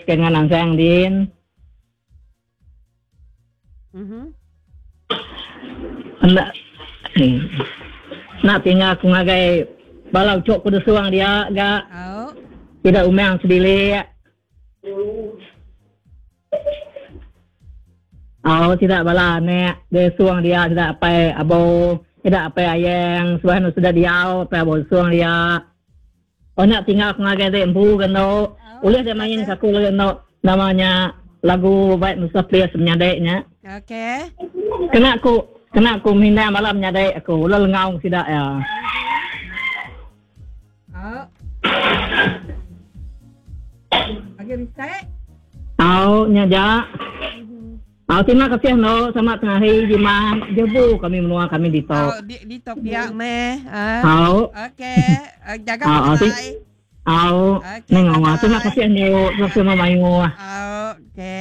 Kengan Ansang din. Mhm. Enda enda tinggal aku ngagai bala uchu ku desung dia ga. Au. Sida umang sebilik. Au sida bala anak desung dia sida apai abo, sida apai ayang suah anu sida diau apai abo desung dia. Enda tinggal aku ngagai dek empu ga endo. Ulih dek main ka aku lalu endo nama nya lagu bai Musa Plis menyadi nya. Okey. Kena ku kena ku mindah bala menyadi aku lalu lengau sida iya. Au. Agi bisi? Au nya ja. Au terima kasih endo sama tengah hari jimat jebu kami menua kami ditu. Au di ditu pia meh. Au. Okey jaga pengerai. Au. Okey. Nengah. Terima kasih endo terima kasih mayuh. Au okey.